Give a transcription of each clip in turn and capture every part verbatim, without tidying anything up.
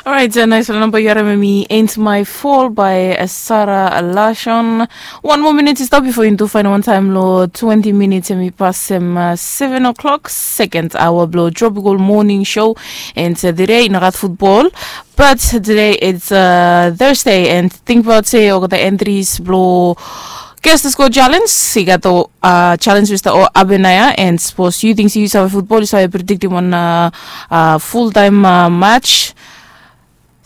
Orait, naispela namba yu harim em i Ain't My Fall by Sara Lashon. Wan moa minit i stap bifo yumi tu fain wan taim long twenty minits em i pasem seven o'clock, second hour bilong Tropical Morning Show. And today i no gat futbol, but today it's Thursday, and tingbaot se olgeta entries bilong Guess the Score Challenge i gat ol challenge we stap ol abenaya, and sapos yu ting se yu save futbol, yu save prediktim wan full time match.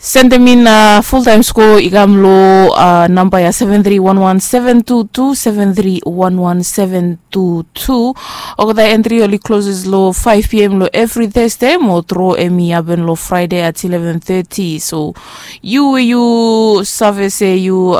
Sendem in full time score i kam long namba ya seven three one one seven two two, seven three one one seven two two. Olgeta entry oli closes long five p.m. long evri Thursday, mo draw em i happen long Friday at eleven thirty. So yu we yu save se yu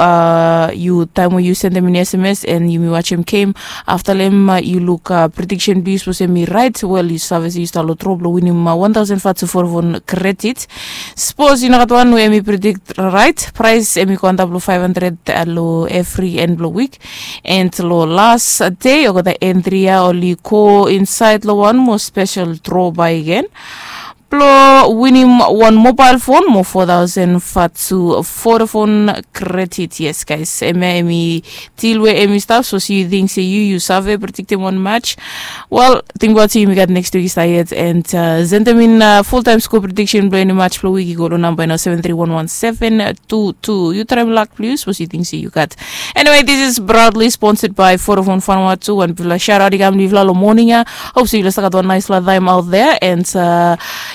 yu taim we yu sendem in sms and yumi wasim game, afta long em yu luk prediction bilong yu, sapos em i rait, wel, yu save se yu stap long draw bilong winim one thousand fatu Vodafone credit. Sapos yu no gat wan we em i predict rait, prais em i go antap long five hundred long evri en bilong wik. And long las de olgeta entri ya oli go insaed long wan moa spesel draw baigen bilong winim wan mobile phone mo four thousand fatu Vodafone credit. Yes, guys, em ya em i deal we em i stap. So yu ting se yu yu save prediktim wan match, wel, tingbaot se yumi gat next week i stap yet, and sendem in full time score prediction bilong eni match bilong wik i go long namba ya nao, seven three one one seven two two. Yu traim lak bilong yu, sapos yu ting se yu gat. Anyway, this is proudly sponsored by Vodafone Vanuatu, and bifala shout out i kam long yufala long morning ya. Hope se yufala stap gat wan naispela taim out there, and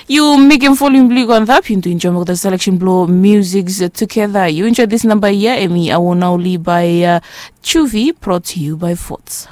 yu mekim volume bilong yu go antap, yu tu enjoy olgeta selection bilong music together. Yu enjoy this number ya, em i Awona Oli by Chuvi, brought to you by Forts.